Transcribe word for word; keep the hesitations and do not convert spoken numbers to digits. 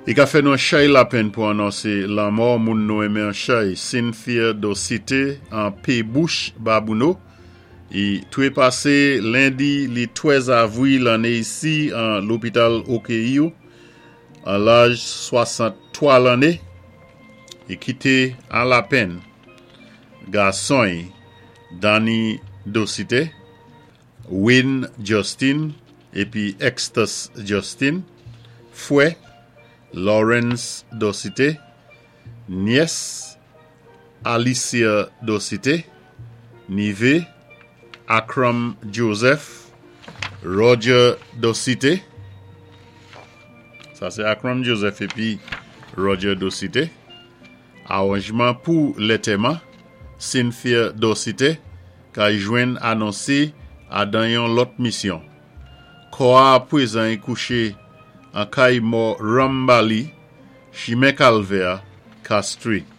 I ka fè nou an chay lapenn pou anonsé lanmò moun nou enmen an chay Cynthia Docité an Pébouch Babouno. I twépasé lendi li twèz avwil lanné isi an lopital Okeyo an laj swasant-twa lanné. I kité an lapenn gason Danny Docité, Wayne Justin épi Extus Justin, fwè Lawrence Docité, nyès Alicia Docité, nivé Akram Joseph, Roger Docité. Sa sé Akram Joseph épi Roger Docité. Awanjman pou lantèman, Cynthia Docité, ka jwenn anonsé adan yon lòt misyon. Kò a pwézan i kouché an kay mò Rambali, Chimen Kalvè, Castries.